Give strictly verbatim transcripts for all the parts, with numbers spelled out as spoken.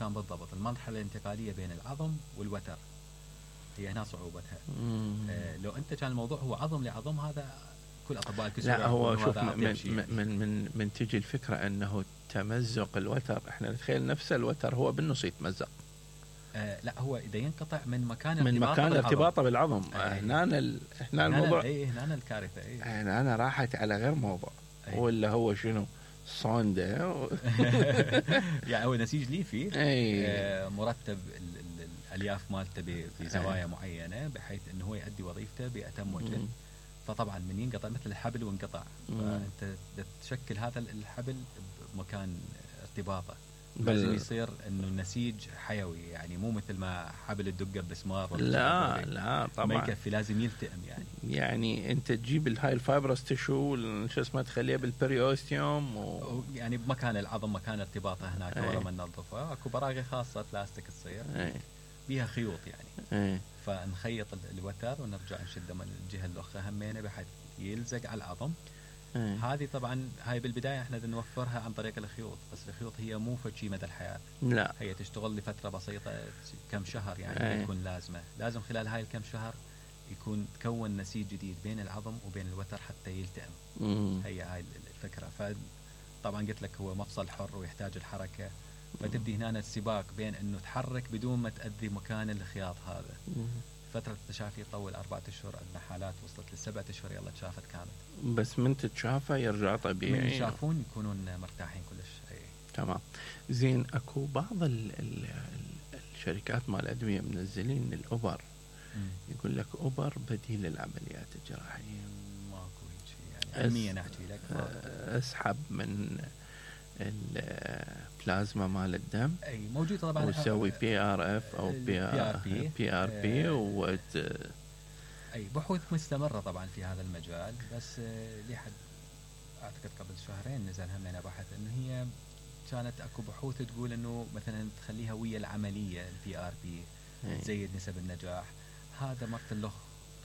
كان بالضبط المرحلة الانتقالية بين العظم والوتر، هي هنا صعوبتها. آه لو أنت كان الموضوع هو عظم لعظم، هذا كل أطباء الكسور. لا هو شوف من من, من من من تجي الفكرة أنه تمزق الوتر، إحنا نتخيل نفس الوتر هو بالنص يتمزق. آه لا هو إذا ينقطع من مكان من مكان ارتباطه بالعظم. آه هنا ال... هنا الموضوع اي هنا الكارثة. اي هنا أنا راحت على غير موضوع. أيه. ولا هو شنو صوندا و... يعني هو نسيج ليفي. أيه. آه مرتب ال ال الألياف مالته بزوايا أيه. معينة بحيث أنه هو يؤدي وظيفته بأتم وجه. فطبعا من ينقطع مثل الحبل وانقطع، فأنت تشكل هذا الحبل بمكان ارتباطه. لازم يصير انه النسيج حيوي، يعني مو مثل ما حبل الدقه بمسمار. لا لا طبعا ما يكفي، لازم يلتئم. يعني يعني انت تجيب الهاي الفايبرس تشو شو اسمه تخليها بالبريوستيوم و... يعني بمكان العظم مكان ارتباطه هناك. ورا ما ننظفها اكو براغي خاصه بلاستيك تصير بيها خيوط يعني. أي. فنخيط الوتر ونرجع نشده من الجهه الاخرى همينه بحيث يلزق على العظم. أي. هذه طبعا هاي بالبدايه احنا نوفرها عن طريق الخيوط، بس الخيوط هي مو فشي مدى الحياه. لا هي تشتغل لفتره بسيطه كم شهر يعني. تكون لازمه لازم خلال هاي الكم شهر يكون تكون نسيج جديد بين العظم وبين الوتر حتى يلتئم. مم. هي هاي الفكره. فطبعا قلت لك هو مفصل حر ويحتاج الحركه، فتبدي هنا السباق بين انه تحرك بدون ما تاذي مكان الخياط هذا. مم. فترة التشافي تطول أربعة أشهر، عندنا حالات وصلت لسبعة أشهر يلا تشافت كامل. بس من تتشافى يرجع طبيعي. من يشافون يكونون مرتاحين كلش. أي. تمام زين. أكو بعض ال ال الشركات مال الأدوية منزلين الأوبر. مم. يقول لك أوبر بديل للعمليات الجراحية. ماكو شيء يعني علميا أحكي لك. اسحب من البلازما مال الدم. اي موجود طبعا. وتسوي بي ار اف او بي ار بي بي ار بي و اي بحوث مستمره طبعا في هذا المجال. بس لحد اعتقد قبل شهرين نزل همنا بحث انه هي كانت اكو بحوث تقول انه مثلا تخليها ويا العمليه البي ار بي تزيد نسب النجاح. هذا مرت اللخ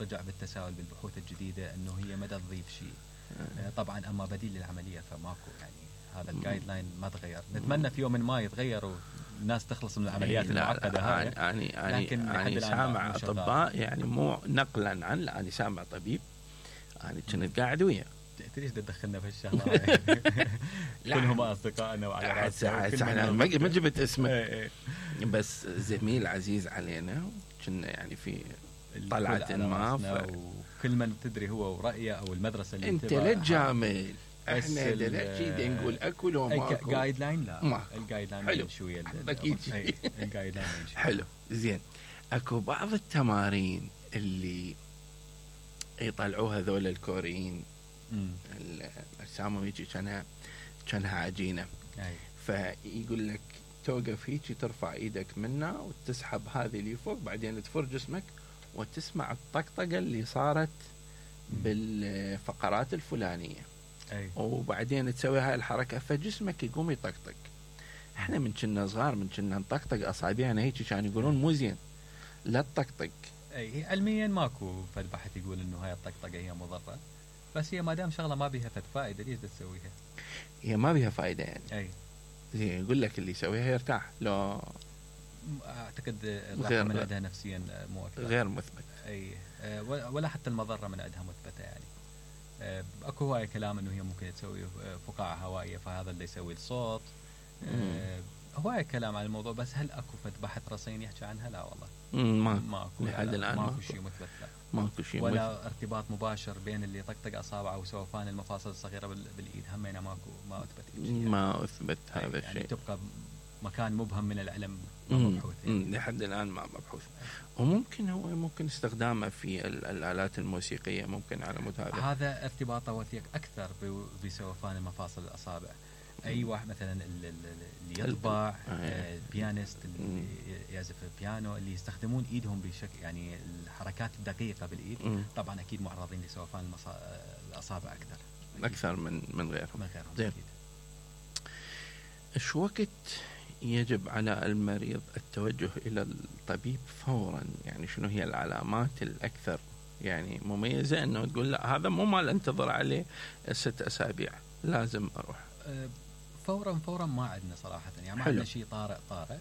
رجع بالتساؤل بالبحوث الجديده انه هي ما تضيف شيء. طبعا اما بديل للعمليه فماكو. يعني هذا الجايد لاين ما تغير. نتمنى في يوم من ما يتغير والناس تخلص من العمليات المعقده هاي. يعني يعني يعني سامع اطباء يعني مو نقلا عن يعني سامع طبيب يعني كنت قاعد وياه. ليش تدخلنا في الشغله هاي؟ كلهم اصدقائنا وعلى راسنا. احنا ما جبت اسمه بس زميل عزيز علينا كنا يعني في طلعه ما. وكل من تدري هو ورأيه او المدرسه اللي انت لا تجامل. احنا دلوقتي نقول اكل وما اكل. جايد لاين لا. الجايد لاين شويه اكيد. الجايد لاين حلو زين. اكو بعض التمارين اللي يطلعوها ذول الكوريين اجسامهم يجي كانها كانها عجينه. فيقول لك توقف هيك ترفع ايدك منها وتسحب هذه اللي فوق بعدين تفر جسمك وتسمع الطقطقه اللي صارت بالفقرات الفلانيه. أي. وبعدين تسوي هاي الحركة فجسمك يقوم يطقطق. احنا من كنا صغار من كنا نطقطق اصابعنا هيك كانوا يقولون مو زين لا تطقطق. اي علميا ماكو فد بحث يقول انه هاي الطقطقه هي مضره، بس هي ما دام شغله ما بيها فد فائده ليش تسويها؟ هي ما بيها فائده يعني. اي زين يقول لك اللي يسويها يرتاح. لو اعتقد الراحه من عندها نفسيا مو اكثر. غير مثبت. اي ولا حتى المضره من عندها مثبته يعني. اكو هواي كلام انه هي ممكن تسوي فقاعه هوائيه فهذا اللي يسوي الصوت. أه هواي كلام عن الموضوع، بس هل اكو فد بحث رصين يحكي عنها؟ لا والله. ما ماكو لحد الان ماكو شيء مثبت. لا ماكو شيء ولا مثبت. ارتباط مباشر بين اللي طقطق اصابعه وسوفان المفاصل الصغيره بالايد همينه ماكو ما اثبت يعني. ما اثبت هذا الشيء يعني تبقى مكان مبهم من العلم مبحوث يعني. لحد الان ما مبحوث. وممكن هو ممكن استخدامه في الآلات الموسيقية ممكن على مود هذا. هذا ارتباطه وثيق أكثر بسوفان المفاصل الأصابع. أي واحد مثلا اللي يطبع آه بيانيست اللي يعزف بيانو اللي يستخدمون إيدهم بشكل يعني الحركات الدقيقة بالإيد م. طبعا أكيد معرضين لسوفان المصا... الأصابع أكثر أكيد. أكثر من من غيرهم. من غيرهم زين. إيش وقت يجب على المريض التوجه إلى الطبيب فورا؟ يعني شنو هي العلامات الأكثر يعني مميزة أنه تقول لا هذا مو مال انتظر عليه ست أسابيع لازم أروح؟ فورا فورا ما عندنا صراحه، يعني ما حلو. عندنا شيء طارئ طارئ.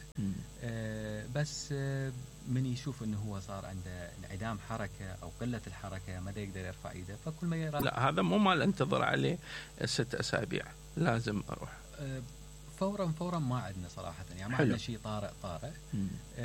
آه بس آه من يشوف انه هو صار عنده انعدام حركه او قله الحركه، ما دا يقدر يرفع ايده، فكل ما يرى لا هذا مو مال انتظر عليه ست اسابيع، لازم اروح. آه فورا فورا ما عندنا صراحه، يعني ما حلو. عندنا شيء طارئ طارئ.